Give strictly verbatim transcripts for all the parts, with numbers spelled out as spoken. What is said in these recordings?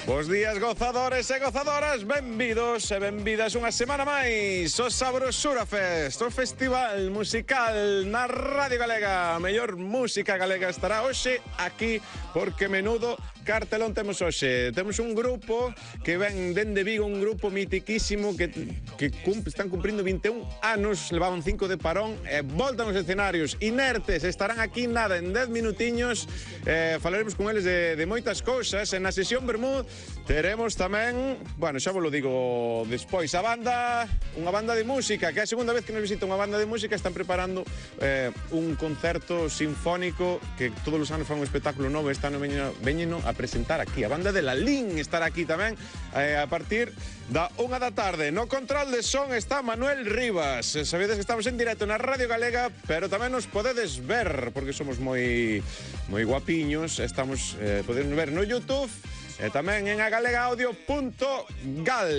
Bos días, gozadores e gozadoras, benvidos e benvidas unha semana máis o Sabrosura Fest, o festival musical na Radio Galega. A mellor música galega estará hoxe aquí, porque menudo cartelón temos hoxe. Temos un grupo que ven dende Vigo, un grupo mitiquísimo que, que cum, están cumprindo vinte e un anos, levaban cinco de parón e voltan aos escenarios inertes. Estarán aquí nada, en dez minutiños. eh, falaremos con eles de, de moitas cousas. En a sesión Bermud teremos tamén, bueno, xa vos lo digo despois, a banda, unha banda de música, que é a segunda vez que nos visita unha banda de música. Están preparando eh, un concerto sinfónico que todos os anos fan un espectáculo novo. Este ano veñeno, veñeno a presentar aquí. A banda de La Lin estará aquí tamén eh, a partir da unha da tarde. No control de son está Manuel Rivas. Sabedes que estamos en directo na Radio Galega, pero tamén nos podedes ver, porque somos moi moi guapiños. Estamos, eh, podedes ver no YouTube e tamén en agalegaaudio punto gal.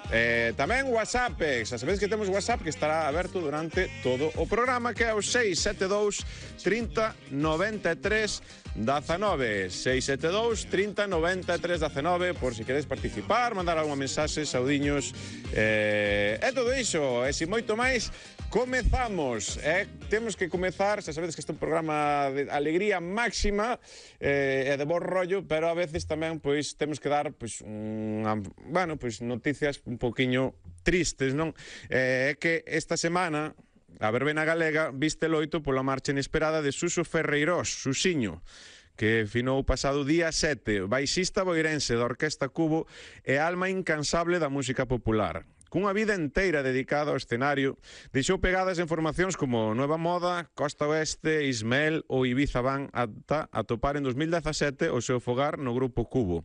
Eh, tamén WhatsApp, xa sabedes que temos WhatsApp que estará aberto durante todo o programa, que é o seis sete dous, trinta, noventa e tres, dezanove. seis sete dous, trinta, noventa e tres, dezanove, por si queres participar, mandar algunha mensaxe, saudiños, eh, e todo iso, e si moito máis. Comezamos, eh? Temos que comezar, xa sabedes que este é un programa de alegría máxima eh, e de bo rollo, pero a veces tamén pois temos que dar pois unha, bueno, pois noticias un poquiño tristes, non? É eh, que esta semana a verbena galega viste loito pola marcha inesperada de Suso Ferreirós, Susiño, que finou o pasado día sete, baixista boirense da Orquesta Cubo e alma incansable da música popular. Cunha vida enteira dedicada ao escenario, deixou pegadas en formacións como Nueva Moda, Costa Oeste, Ismael ou Ibiza Van, ata atopar en dos mil dezasete o seu fogar no Grupo Cubo.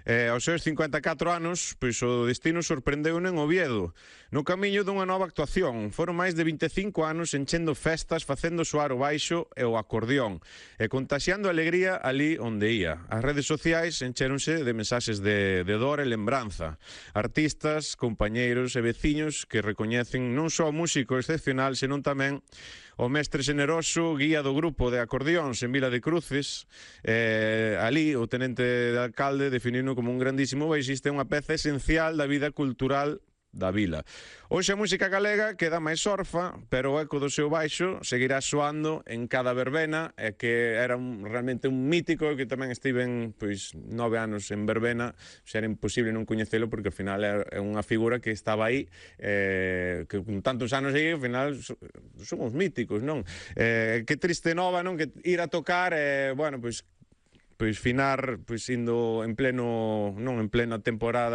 Eh, aos seus cincuenta e catro anos, pois o destino sorprendeu en Oviedo, no camiño dunha nova actuación. Foron máis de vinte e cinco anos enchendo festas, facendo soar o baixo e o acordeón, e contaxiando alegría ali onde ia. As redes sociais encheronse de mensaxes de, de dor e lembranza. Artistas, compañeiros e veciños que recoñecen non só o músico excepcional, senón tamén o mestre xeneroso, guía do grupo de acordeóns en Vila de Cruces. Eh, ali o tenente de alcalde definiu como un grandísimo baixista e unha peza esencial da vida cultural da vila. Hoxe a música galega queda máis orfa, pero o eco do seu baixo seguirá soando en cada verbena, e que era un, realmente un mítico, que tamén estiven pois nove anos en verbena. Xa era imposible non coñecelo, porque ao final é unha figura que estaba aí, eh, que con tantos anos aí, ao final somos míticos, non? Eh, que triste nova, non? Que ir a tocar, eh, bueno, pois pois finar, pois indo en pleno, non en plena temporada